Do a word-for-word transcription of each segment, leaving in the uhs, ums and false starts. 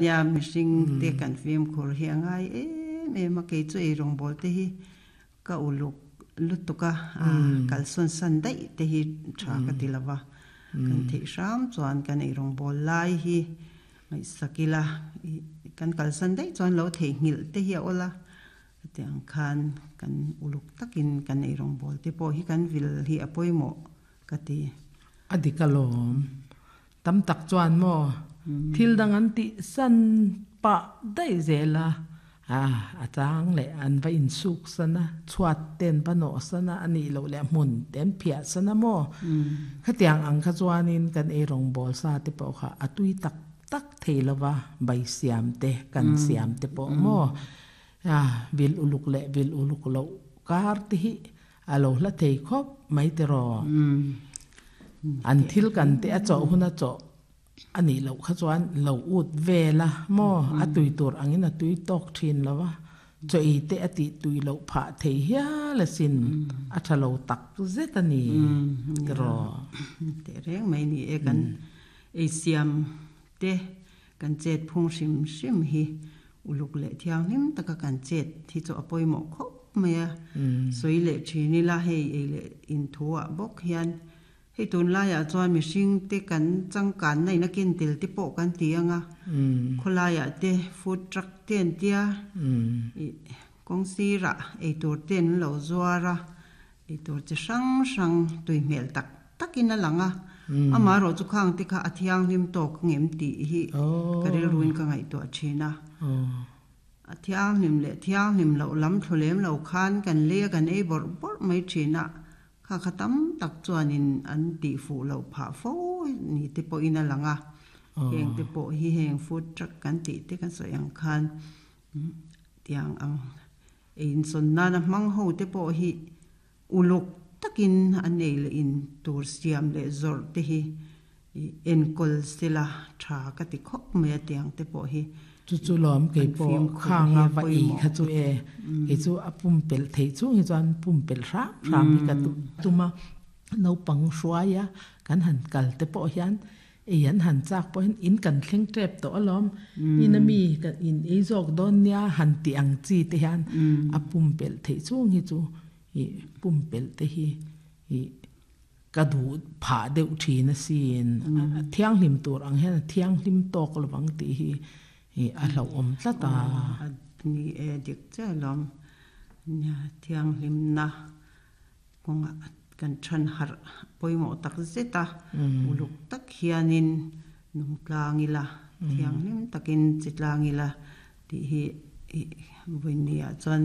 Nia mihring te kan fimkhur hi a ngai em em a, kei chu ei rawngbawl te hi ka uluk lutuk a, kalsawn san daih te hi tha ka ti lova, kan theih hram chuan kan ei rawngbawl lai hi ngaihsak ila, kan kalsan daih chuan lo theihnghilh te hi a awl a, hetiang khan kan uluk takin kan ei rawngbawl te pawh hi kan vil hi a pawimawh ka ti. A dik alawm. Tam tak chuan maw thil dang an tih san pah daih zel a, a chang leh an va insuk san a, chhuat te an va nawh san a, a nih loh leh hmun te an phiah san a maw. Khatiang ang kha chuanin kan ei rawngbawl sa te pawh kha a tui tak tak thei lova, bai siam te kan siam te pawh maw vil uluk leh vil uluk loh kar te hi a lo hla thei khawp mai te rawh. An thil kan te a chawh hun a chawh a nih loh kha chuan lo ut vel a maw, a tui tur angin a tui tawk thin lova, chaw ei te a tih tui loh phah thei hial asin, a tha lo tak zet a ni te rawh. Teh reng mai ni e, kan ei siam te kan chet phung hrim hrim hi uluk leh thianghlim taka kan chet hi chu a pawimawh khawp mai a, sawi leh thin ila hei ei leh inthuah bawk hian hei tun laiah chuan mihring te kan changkan na in a ken tel te pawh kan ti anga, khawlaiah te food truck te an tia, kawng sirah ei tur te an lo zuar a, ei tur chi hrang hrang tui hmel tak takin a lang a, amah erawh chu khang te kha a thianghlim tawk ngem tih hi ka rilruin ka ngaihtuah thin a. A thianghlim leh thianghlim loh lam thlu lem lo khan kan lei a kan ei bawrh bawrh mai thin a, kha kha tam tak chuanin an tih fuh loh phah fo ni te pawhin a lang a, heng te pawh hi heng food truck kan tih te kan sawi ang khan tiang ang ei insawn nana hmang ho te pawh hi uluk takin an ei leh in tur siam leh zawrh te hi enkawl sela tha ka ti khawp mai a, tiang te pawh hi chu chu lawm kei pawh khanga va ei kha chu e kei chu a pumpelh thei chung hi chuan pumpelh hram hram hi ka tuma naupang hruaia kan han kal te pawh hian ei an han chak pawh hian in kan thleng tep tawh alawm, in ami kan in ei zawk dawn nia han ti ang chi te hian a pumpelh thei chung hi chu i pumpelh te hi i ka du phah deuh thin asin, thianghlim tur ang hian thianghlim tawk lovang tih hi a hlauhawm tlat a. Ni e dik che alawm, thianghlim na kawnga kan than harh pawimawh tak zet a, uluk tak hianin nung tlang ila, thianghlim takin chi tlang ila tih hi vawinia chuan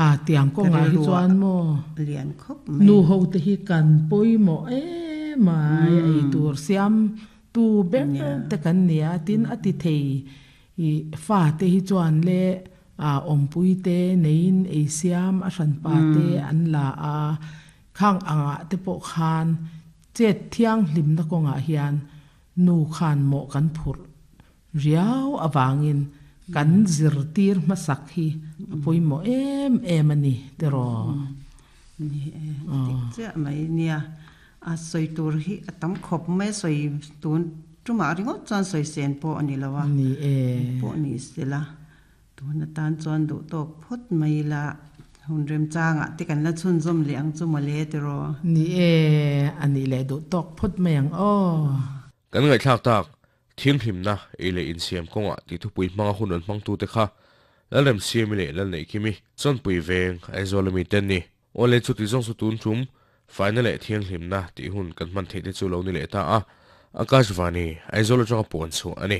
a tiang kawnga hi chuan maw lian khawp mai nu ho te hi kan pawimawh em mai, ei tur siam tu ber te kan nia, tin a ti thei i fa te hi chuan le a awmpui te neiin ei siam a hran pa te an la a, khang anga te pawh khan chet thianghlim na kawnga hian nu khan mawh kan phurh riau awangin kan zir tir hmasak hi a pawimawh em em a ni te rawh. Ni e dik chiah mai nia, a sawi tur hi a tam khawp mai, sawi tun tumah ringawt chuan sawi sen pawh a ni lo a, ni e pawh ni sela tun atan chuan duh tawk phawt mai la, hun rem changah te kan la chhunzawm leh ang chu mawle te rawh. Ni e ani leh duh tawk phawt mai ang aw. Kan ngaihthlak tak thianghlim na ei leh insiam kawnga ti thupui hmanga hun an hmang tu te kha Lalrem siami leh Lalneih Kimi Chawnpui veng Aizawl ami ten ni. Awle chu ti zawng chu tun tum faina leh thianghlim na tih hun kan hman theih te chu lo ni leh ta a, Akashvani Aizawl atanga puan chhuah a ni.